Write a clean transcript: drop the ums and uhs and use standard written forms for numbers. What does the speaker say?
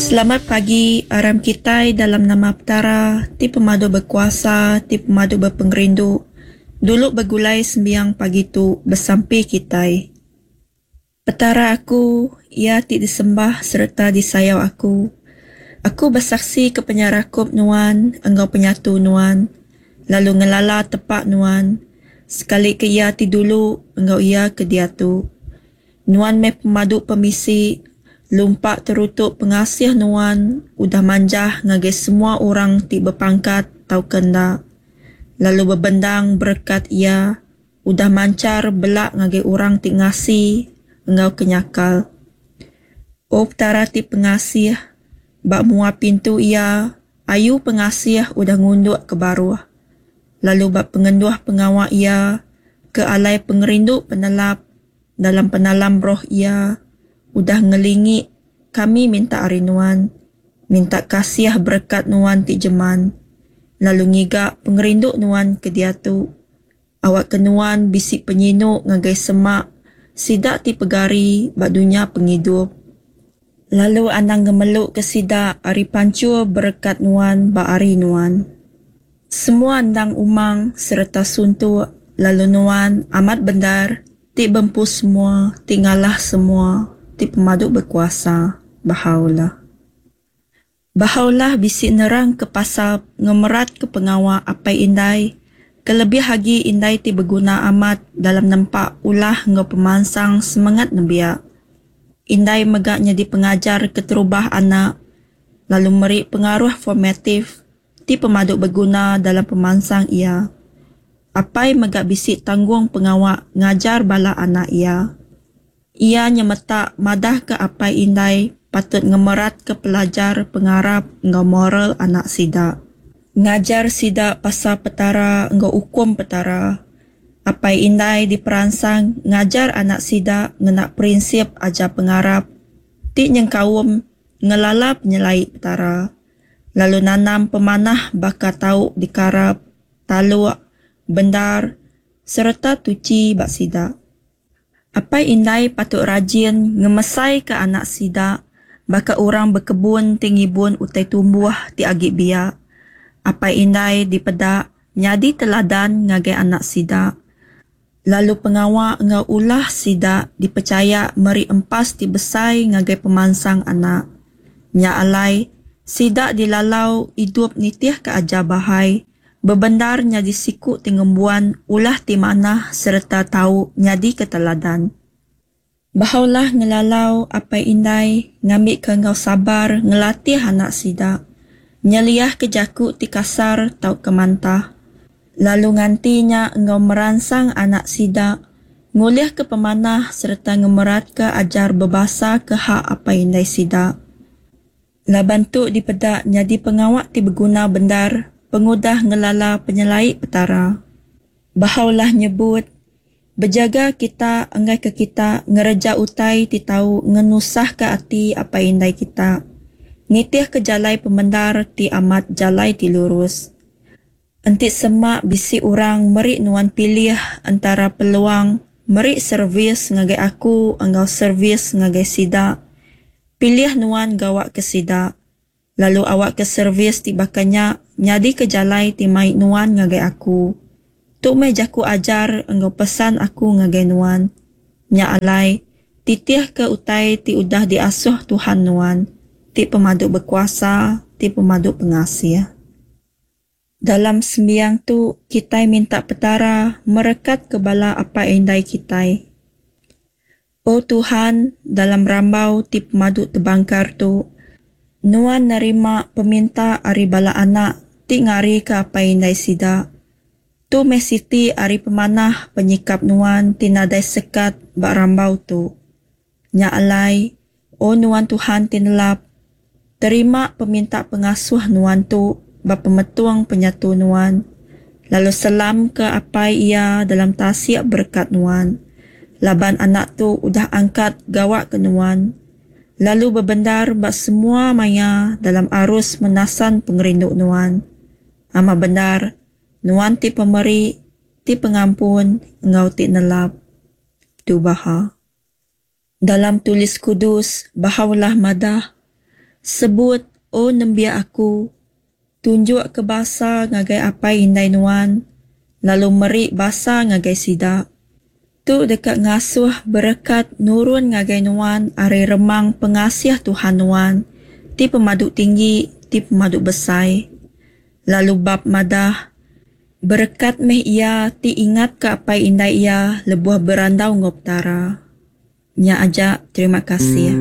Selamat pagi aram kitai dalam nama Petara ti pemadu bekuasa ti pemadu bepengerindu dulu begulai sembiang pagi tu besampi kitai. Petara aku, Iya ti disembah sereta disayau aku. Aku besaksi ke penyerakup Nuan enggau penyatu Nuan, lalu ngelala tepa Nuan, sekalika iya ti dulu enggau iya ke diatu. Nuan meh pemadu pemisi, lumpa terutu pengasih Nuan udah manjah ngagai semua orang ti bepangkat tauka enda, lalu bebendang berekat Iya udah manchar bela ngagai orang ti ngasi enggau ke nyakal. O Petara ti pengasih, ba mua pintu Iya ayu pengasih udah ngunduk ke baruh, lalu ba pengenduh pengawa Iya ke alai pengerindu penelap dalam penalam roh Iya udah ngelingi kami minta ari Nuan, minta kasih berekat Nuan ti jeman, lalu ngiga pengerindu Nuan ke diatu. Awakka nuan bisi penyinu ngagai semak sida ti pegari ba dunya pengidup, lalu anang ngemeluka sida ari panchur berekat nuan ba hari nuan. Semua endang umang sereta suntuk, lalu nuan amat bendar ti bempu semua, ti ngalah semua, ti pemadu bekuasa. Bahá'u'lláh. Bahá'u'lláh bisi nerangka pasal ngemeratka pengawa apai indai, kelebih agi indai ti beguna amat dalam nempa ulah enggau pemansang semengat nembiak. Indai mega nyadi pengajar keterubah anak lalu meri pengaruh formatif ti pemadu beguna dalam pemansang iya. Apai mega bisi tanggung pengawa ngajar bala anak iya. Iya nyemetak madahka apai indai patut ngemeratka pelajar pengarap enggau moral anak sida. Ngajar sida pasal Petara enggau ukum Petara. Apai indai diperansang ngajar anak sida ngena prinsip ajar pengarap ti nyengkaum ngelala penyelai Petara, lalu nanam pemanah baka tau dikarap, taluk, bendar, sereta tuchi ba sida. Apai indai patut rajin ngemesaika anak sida baka orang bekebun ti ngibun utai tumbuh ti agi biak. Apai indai dipeda nyadi teladan ngagai anak sida, lalu pengawa enggau ulah sida dipechaya meri empas ti besai ngagai pemansang anak. Nya alai, sida dilalau idup nitihka ajar Baha'i Bebendar nyadi siku ti ngembuan ulah ti manah sereta tau nyadika teladan. Baha'u'llah ngelalau apai indai ngambika enggau sabar ngelatih anak sida, nyeliahka jaku ti kasar tauka mantah, lalu nganti nya enggau meransang anak sida ngulihka pemanah sereta ngemeratka ajar bebasaka hak apai indai sida. Laban tu dipeda nyadi pengawa ti beguna bendar pengudah ngelala penyelai Petara. Baha'u'llah nyebut, Bejaga kita enggaika kita ngereja utai ti tau ngenusahka ati apai indai kita, nitihka jalai pemendar ti amat jalai ti lurus. Enti sema bisi orang meri nuan pilih entara peluang meri servis ngagai aku enggau servis ngagai sida, Pilih nuan gawa ke sida, lalu awakka servis ti baka nya nyadika jalai ti mai nuan ngagai aku. Tu meh jaku ajar enggau pesan aku ngagai nuan. Nya alai, titihka utai ti udah diasuh Tuhan nuan, ti Pemadu Bekuasa, ti Pemadu Pengasih. Dalam sembiang tu, kitai minta Petara merekatka bala apai indai kitai. O Tuhan, dalam rambau ti pemadu tebangkar tu, Nuan nerima peminta ari bala anak ti ngarika apai indai sida. Tu meh siti ari pemanah penyikap Nuan ti nadai sekat ba rambau tu. Nya alai, O Nuan Tuhan ti nelap, terima peminta pengasuh Nuan tu ba pemetung penyatu Nuan, lalu selamka apai iya dalam tasik berekat Nuan, laban anak tu udah angkat gawa ke Nuan, lalu bebendar ba semua maya dalam arus menasan pengerindu Nuan. Amat bendar, Nuan ti pemeri, ti pengampun, enggau ti nelap. Tubaha. Dalam Tulis Kudus, Baha'u'llah madah, Sebut, O nembiak aku, tunjukka basa ngagai apai indai nuan, lalu meri basa ngagai sida. Tu deka ngasuh berekat nurun ngagai nuan ari remang pengasih Tuhan nuan, ti Pemadu Tinggi, ti Pemadu Besai. Lalu bab madah, Berekat meh iya ti ingatka apai indai iya lebuh berandau enggau Petara. Nya aja, terima kasih.